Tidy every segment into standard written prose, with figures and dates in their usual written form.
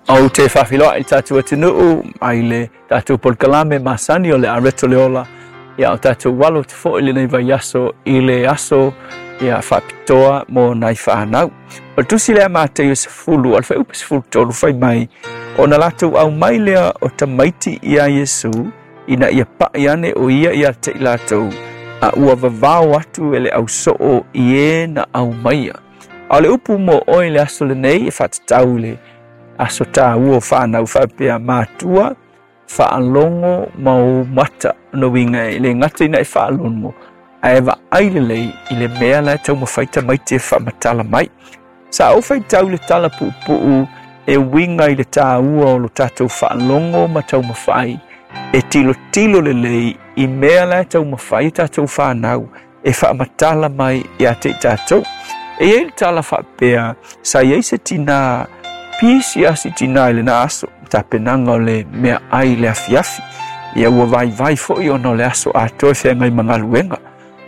Ou te faafeiloai i le tatou atunuu mai le tatou polokalame masani o le Areto le Ola. Ia, o tatou alo atu foi lenei vaiaso i le aso ia faapitoa mo nai fanau. O le tusi lea Mateio 10, o le fuaiupu 13 fai mai, ona latou aumai lea o tamaiti iā Iesu, ina ia pa'i ane o ia ia te i latou, a ua vavao atu e le ausoo i e na aumaia. A o le upu mo oe i le aso lenei e faatatau i le aso taua o fanau faapea matua, faalogo ma ou mata. Lona uiga e le gata ina e faalogo, ae vaai lelei i le mea la e taumafai tamaiti e faamatala mai. Sa ou faitau i le tala puupuu e uiga i le taua o lo tatou faalogo ma taumafai e tilotilo lelei i mea la e taumafai tatou fanau e faamatala mai ia te i tatou. E i ai le tala faapea, sa i ai se tinā pisi a si tinā i lena aso, tapenaga o le meaai i le afiafi. Ia ua vaivai foi ona o le aso atoa e feagai ma galuega.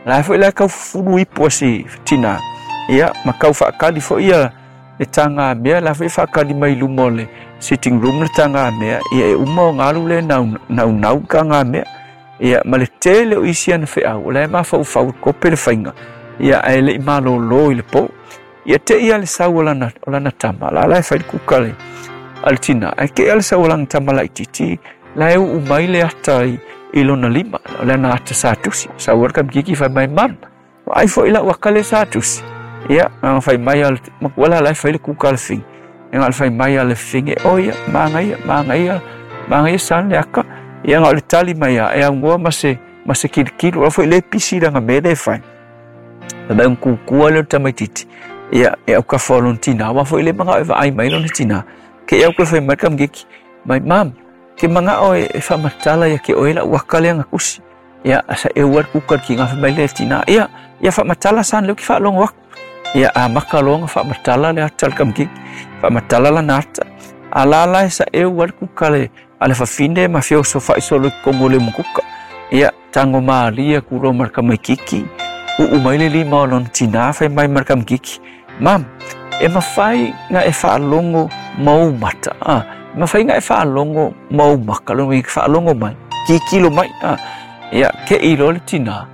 La foi la kau fufulu ipu a si tinā, ia ma kau faakali foi ia le tagamea, la foi faakali mai luma o le sitting room le tagamea, ia e uma o galu le naunau tagamea. Ia ma le tele o isi ana feau, o la e mafaufau kope le faiga, ia ae le i malōlō i le pō. Ia te ia le sau o lana tama, la la e fai le kuka le a le tina, ae te ia le sau o lana tama laitiiti, la e uu mai le ata i lona lima, o le ana ata sa tusi. Sau o le kamikiki fai mai, mam, ai foi lau aka le sa tusi. Ia, nga fai mai a le makuala la e fai le kuka a le fingi. Ia nga le fai mai a le fingi, o ia, manaia, manaia, manaia san le aka. Ia nga o le tali mai a, e augoa ma se kilikilo, o foi le pisi langa me le fai. Mai un kukua le tamaititi. Ia, e au ka fa lona tina, wa foi le manga e vaai mai lona tina. Ke au ka fai mai kamikiki, mai mam, ke manga o e whamatala ia ke oela waka le anga kusi. Ia, asa e ua kuka ki ngā whamai le tina. Ia, ia whamatala san leo ki whaalongo aku. Ia, a maka loanga whamatala le ata le kamikiki. Whamatala la nata. A la la e sa e ua kuka le a le whawhine ma whio so whaisolo ki kongo le mukuka. Ia, tango maalia kuro mar kamikiki. Uu mai le lima o lona tina whai mai mar kamikiki. Mam, e mawhai ngā e whaalongo mau mata. Ah, mawhai ngā e whaalongo mau maka. Lono i whaalongo mai. Kikilo mai. Ah, ia, ke ilo le tina.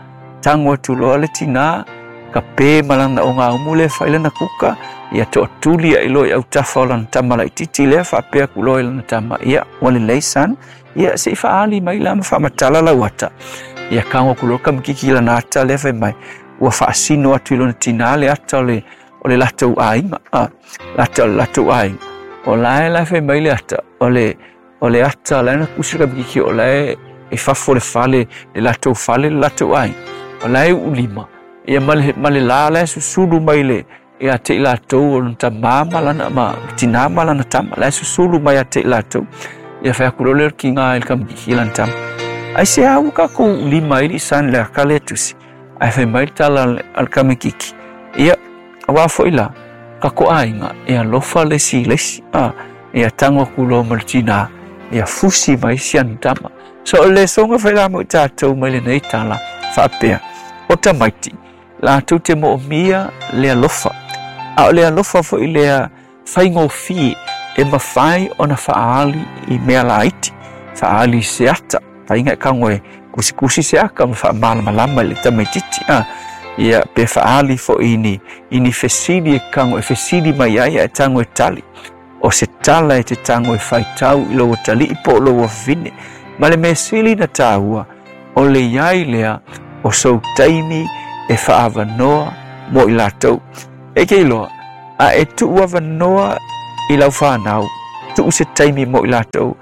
Tango atu loa le tina. Ka pē malana o ngā umu le whai lana kuka. Ia toa tuli a ilo i au tafa o lana tama laitiiti lea whaapea ku loa i lana tama. Ia, wale leisan. Ia, se i whaali mai la ma whaamatala lau ata. Ia, kango ku loa kamikiki lana ata lea whai mai. Ua whaasino atu i lona tina le ata o le latou aiga. Ah, latou aiga. O la e la whai mai le ata. O le ata la na kusi kamikiki o la e fafo le fale, le latou fale, le latou aiga. O la e ulima. Ia ma le la la e susulu mai le ia te i latou o lona tama lana ma tina ma lana tama. La e susulu mai a te i latou. Ia whai aku lole ki ngā il kamikiki lana tama. Ai se au ka kou lima ili san le akale tusi. Ai whai mai tala al kamikiki. Ia, wā foi la, ka ko aiga, e alofa le si lesi. Ah, ia tango kulo ma le tina, ia fusi mai si ana tama. So o le songa whai la mo i tātou mai le nei tala, whaapea, o tamaiti, latou te moomia le alofa. A o le alofa foi lea whaingōfie e mawhai ona whaali i mea laiti, whaali se ata, whainga e kango e kusikusi se aka ma whaamalamalama i le tamaititi. Ah, ia pe whaali fo ini fesili e kango e fesili mai ai e tango e tali. O se tala e te tango e whaitau i loa tali i po loa vine. Ma le mesili na tāua o le iai lea o sou taimi e whaawanoa mo i lātou. E ke iloa, a e tuu awanoa i lau whanau, tuu se taimi mo i lātou,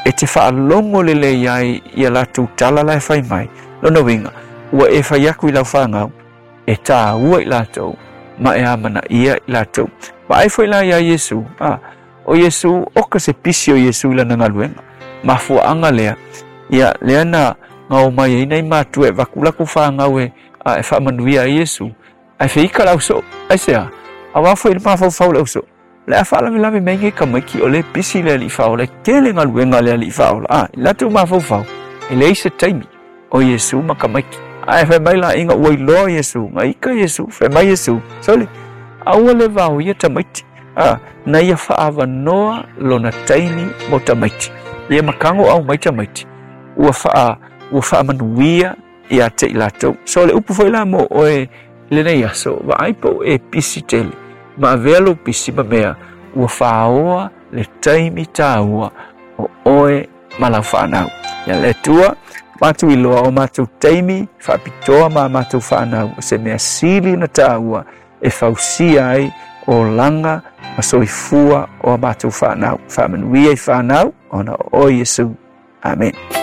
e te whaalongo le le iai i a lātou tala la e whai mai. Lona winga, ua e whai aku i lau whanau, e tāua i lātou, ma e amana ia i lātou. Ma ai foi la ia Iesu, ah, o Iesu, oka se pisi o Iesu i lana galuega. Mafuaanga lea, ia lea na ngao mai ai nei mātua e vakulaku whāngau e e whaamanuia ai Iesu. Ai whiika lau so, ai sea, a wā foi le mafaufau lau so. Le a whaalavelave mai ngai kamaiki o le pisi le ali whaola, tele galuega le ali whaola. Ah, i latou mafaufau, e leai se taimi o Iesu ma kamaiki. Ai whai mai la inga ua iloa Iesu, nga ika Iesu, whai mai Iesu. Sole, aua le vao ia tamaiti. Na ia fa'aavanoa lona taimi mo tamaiti. Ia makago au mai tamaiti. Ua fa'a ua fa'amanuia ia te i latou. So le upu foi la mo oe lenei aso, vaai po o e pisi tele. Ma avea lou pisi ma mea ua fāoa le taimi tāua o oe ma lau fanau. Ia le Atua, matou iloa o matou taimi faapitoa ma matou fanau o se mea sili na tāua e fausia ai olaga ma soifua o a matou fanau. Faamanuia i fanau ona o oe Iesu. Amen.